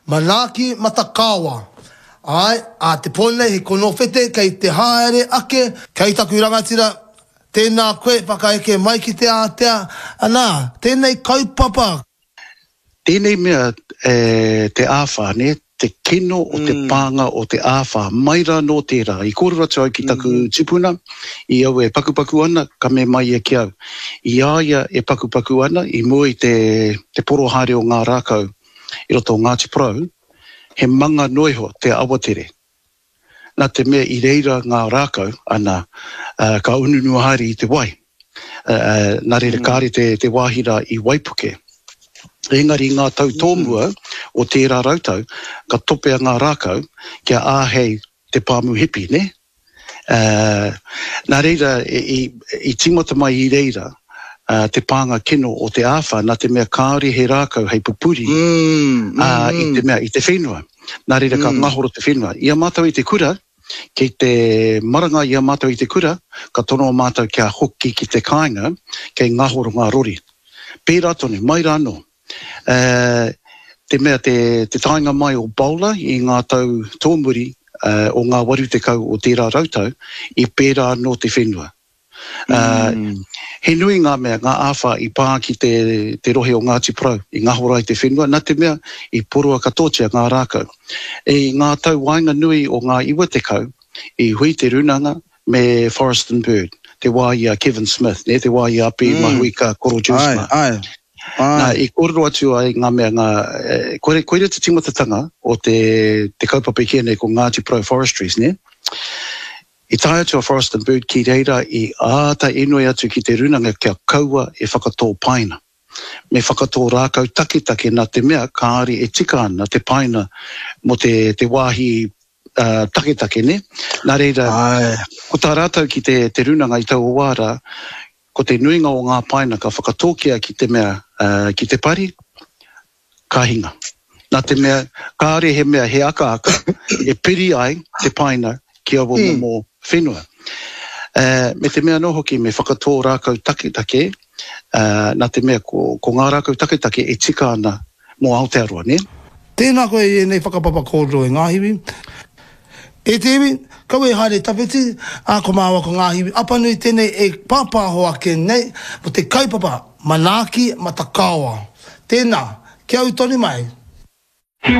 Manaaki Matakaoa. Āe, ā te pō nei he konowhete kei te haere ake, kei taku rangatira, tēnā koe whakaeke mai ki te ātea, anā, tēnei kaupapa. Tēnei mea te āwhā, nē, te kino o te pānga o te āwhā, mai rā nō tērā. I kōrero atu au ki taku tupuna, i au e pakupaku ana, ka me mai ia ki au. I a ia e pakupaku ana, i mua i te, te poro haere o ngā rākau i roto o Ngāti Porou, he manga noa iho te awatere. Nā te mea i reira ngā rākau, ana, ka ununua haere i te wai. Nā reira kāre te, te wāhi rā i waipuke. Engari i ngā tau tōmua o tērā rautau, ka topea ngā rākau kia āhei te pāmu hipi, nē? Nā reira, i, i tīmata mai i reira te pānga kino o te āwhā, nā te mea kāore he rākau hei pupuri i te mea, i te whenua. Nā reira ka ngahoro te whenua. I a mātou i te kura, kei te maranga i a mātou i te kura, ka tonoa mātou kia hoki ki te kāinga, kei ngahoro ngā rori. Pērā tonu, mai rā anō. Te mea te, te taenga mai o Bowler i ngā tau tōmuri o ngā 80 o tērā rautau, i pērā anō te whenua. He nui ngā mea, ngā āwhā i pā ki te, te rohe o Ngāti Porou, i ngahoro ai te whenua, nā te mea i poroa katoatia ngā rākau. I ngā tau waenganui o ngā 90, i hui te rūnanga me Forest and Bird, te wā i a Kevin Smith, nē, te wā i a Api Mahuika Koro Juice mā. Āe, āe, āe. Nā, i kōrero atu ai ngā mea, ngā, koira, koira te tīmatatanga o te, te kaupapa e kīia nei ko Ngāti Porou Forestries, nē. I tae atu a Forest and Bird ki reira i āta inoi atu ki te rūnanga kia kaua e whakatō paina. Me whakatō rākau taketake nā te mea kāore e tika ana te paina mō te, te wāhi taketake, nē? Nā reira, ko tā rātou ki te, te rūnanga i taua wā rā, ko te nuinga o ngā paina ka whakatōkia ki te mea, ki te pari, ka hinga. Nā te mea, kāore he mea, he akaaka e piri ai te paina ki aua momo whenua. Me te mea anō hoki, me whakatō rākau taketake, nā te mea ko, ko ngā rākau taketake e tika ana mō Aotearoa, nē? Tēnā koe i ēnei whakapapa kōrero e Ngāhiwi. E te iwi, kaua e haere tawhiti, ā, ko māua ko Ngāhiwi Apanui tēnei e pāpāho ake nei mō te kaupapa manaaki matakaoa. Tēnā, kia ū tonu mai.